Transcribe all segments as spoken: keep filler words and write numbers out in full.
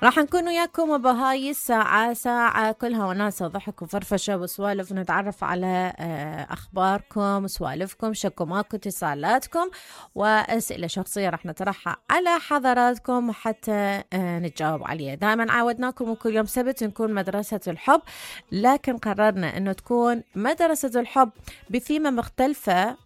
راح نكون وياكم بهاي الساعة، ساعة كلها وناسة وضحك وفرفشة وسوالف، ونتعرف على أخباركم، سوالفكم، شكوماكم، اتصالاتكم وأسئلة شخصية راح نطرحها على حضراتكم حتى نتجاوب عليها. دائما عودناكم وكل يوم سبت نكون مدرسة الحب، لكن قررنا أنه تكون مدرسة الحب بثيمة مختلفة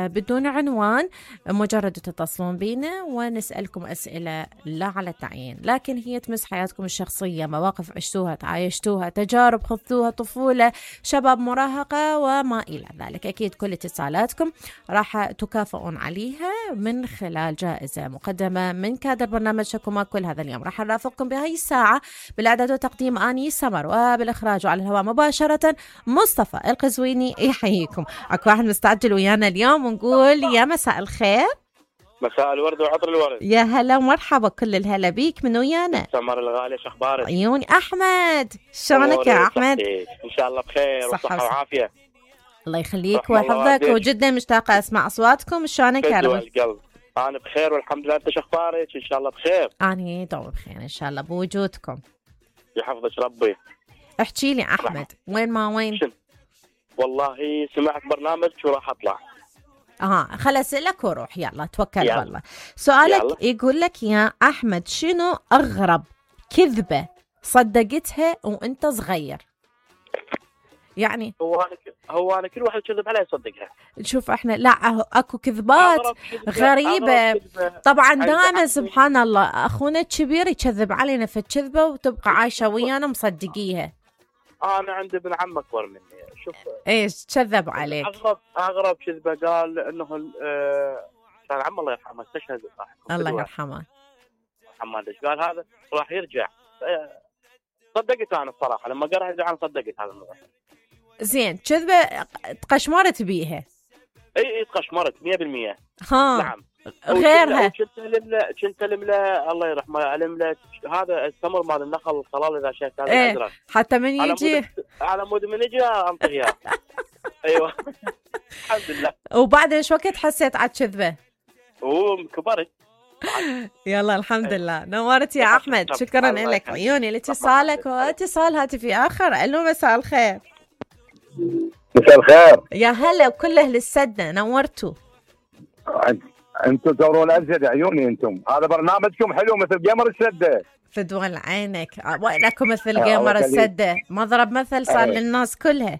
بدون عنوان، مجرد تتصلون بينا ونسألكم أسئلة لا على التعيين، لكن هي تمس حياتكم الشخصية، مواقف عشتوها، تعايشتوها، تجارب خذتوها، طفولة، شباب، مراهقة وما إلى ذلك. أكيد كل اتصالاتكم راح تكافئون عليها من خلال جائزة مقدمة من كادر برنامج شكوما. كل هذا اليوم راح نرافقكم بهاي الساعة بالإعداد وتقديم آني سمر، وبالإخراج على الهواء مباشرة مصطفى القزويني. يحييكم. أكو واحد مستعجل ويانا اليوم ونقول يا مساء الخير. مساء الورد وعطر الورد. يا هلا ومرحبا، كل الهلا بيك. من ويانا؟ سمر الغالي، شو اخبارك؟ عيوني. احمد، شلونك يا احمد؟ ان شاء الله بخير وصحه وعافيه. الله يخليك ويحفظك، وجدا مشتاقه اسمع اصواتكم. شلونك يا رب؟ القلب انا بخير والحمد لله. انت شو اخبارك؟ ان شاء الله بخير. انا دوم بخير ان شاء الله بوجودكم. يحفظك ربي. احكي لي احمد، وين ما وين؟ شن. والله سمعت برنامج وراح اطلع. اه خل اسالك وروح. يلا توكل على الله. سؤالك يلا. يقول لك يا احمد، شنو اغرب كذبه صدقتها وانت صغير؟ يعني هو انا هو انا كل واحد يكذب علي يصدقها. شوف احنا لا اكو كذبات غريبه طبعا دائما سبحان الله. اخونا الكبير يكذب علينا في الكذبه وتبقى عايشه ويانا مصدقيها. انا عندي ابن عم اكبر مني. شوف ايش كذب عليك؟ اغرب اغرب كذبه قال انه كان عم الله يرحمه استشهد. الله يرحمه محمد. ايش قال هذا؟ راح يرجع. صدقت انا الصراحه لما قرأ يرجع انا صدقت هذا الموضوع. زين كذبه تقشمرت بيها؟ اي اي تقشمرت مية بالمية. ها نعم. غيرها كنت لملا كنت لملا الله يرحمه لملا هذا التمر مال النخل الصلال اذا شفت هذا ايه الازرق حتى من يجي على مود من يجي انطق اياه. ايوه الحمد لله. وبعد ايش وقت حسيت على الكذبه؟ وكبرت. يلا الحمد لله. نورت يا احمد، شكرا لك. عيوني لاتصالك واتصال هاتفي اخر. الو مساء الخير. مساء الخير. يا هلا وكل اهل السدة، نورتوا. انتم تورون ازيد عيوني. انتم هذا برنامجكم حلو مثل جيمر السدة. فدوى عينك وينكم مثل جيمر السدة. مضرب مثل صار للناس كلها.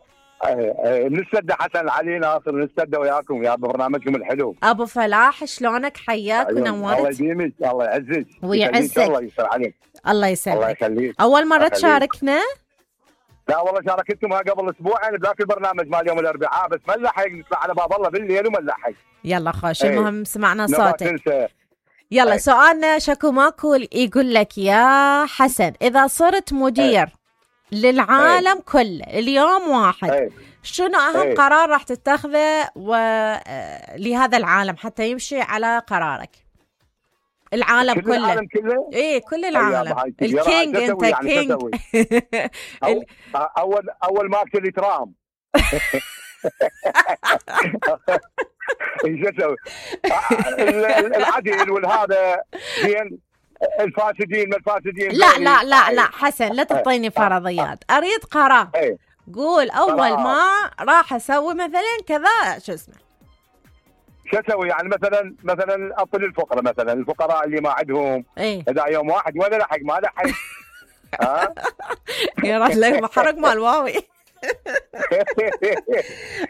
من السدة حسن علي ناصر من السدة وياكم يا برنامجكم الحلو. ابو فلاح شلونك؟ حياك ونورت. الله يديمك، الله يعزك ويعزك. الله يسر عليك. الله يسلمك. الله يخليك. اول مرة تشاركنا؟ لا والله شاركتكم قبل اسبوعين بذاك البرنامج مال يوم الاربعاء، بس ما نلحق نطلع على باب الله بالليل وما نلحق. يلا خوش. المهم سمعنا صوتك. تنسى. يلا ايه. سؤالنا شكو ماكو يقول لك يا حسن، اذا صرت مدير ايه. للعالم ايه. كله اليوم واحد ايه. شنو اهم ايه. قرار راح تتخذه و... لهذا العالم حتى يمشي على قرارك؟ العالم كل كله. العالم كله؟ ايه كل العالم. الكينج انت يعني كينج. أو اول اول ما اكل ترام. ايش اسوي؟ العدل والهذا زين، الفاسدين ما الفاسدين. لا لا لا لا حسن لا تعطيني فرضيات، اريد قرار. قول اول ما راح اسوي مثلا كذا شو اسمه. شو اسوي يعني؟ مثلا مثلا اطل الفقراء، مثلا الفقراء اللي ما عندهم ايه؟ اذا يوم واحد ولا لحق ما لحق. ها يا راح لك محرق مال واوي.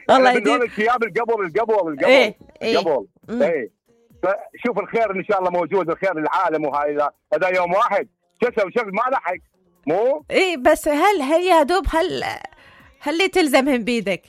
الله يديم الثياب القبل القبل القبل ايه القبل ايه. فشوف الخير ان شاء الله موجود، الخير للعالم. وهاي اذا يوم واحد شو اسوي؟ شغل ما لحق مو ايه. بس هل هل يا دوب هل هل اللي تلزمهم بيدك؟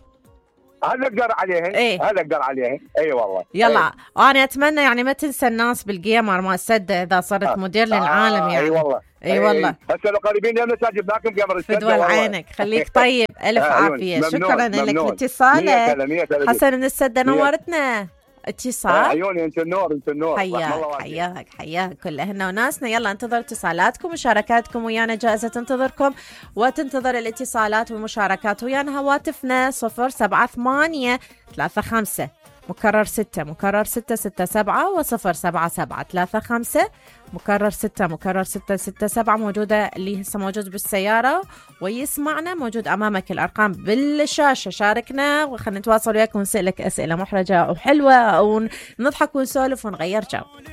هل اقدر عليهن؟ ايه هل اقدر عليهن؟ اي والله. يلا ايه. انا اتمنى يعني ما تنسى الناس بالجيمر ما السدة اذا صرت آه. مدير للعالم. آه. يعني اي والله. اي ايه. والله هسه لو قريبين يمنا جبناكم جيمر السدة. فدوى عينك. خليك طيب. الف عافيه. شكرا لك لاتصالك حسن من السدة. نورتنا. اتصال. عيوني انت النور انت النور. حياك حياك حياك كل اهلنا وناسنا. يلا انتظر اتصالاتكم ومشاركاتكم ويانا. جائزة تنتظركم وتنتظر الاتصالات والمشاركات ويانا. هواتفنا صفر سبعة ثمانية ثلاثة خمسة مكرر ستة مكرر ستة ستة سبعة وصفر سبعة سبعة ثلاثة خمسة مكرر ستة مكرر ستة ستة سبعة موجودة، اللي هسه موجود بالسيارة ويسمعنا موجود أمامك الأرقام بالشاشة. شاركنا وخلنا نتواصل وياك ونسألك أسئلة محرجة وحلوة ونضحك ونسولف ونغير جو.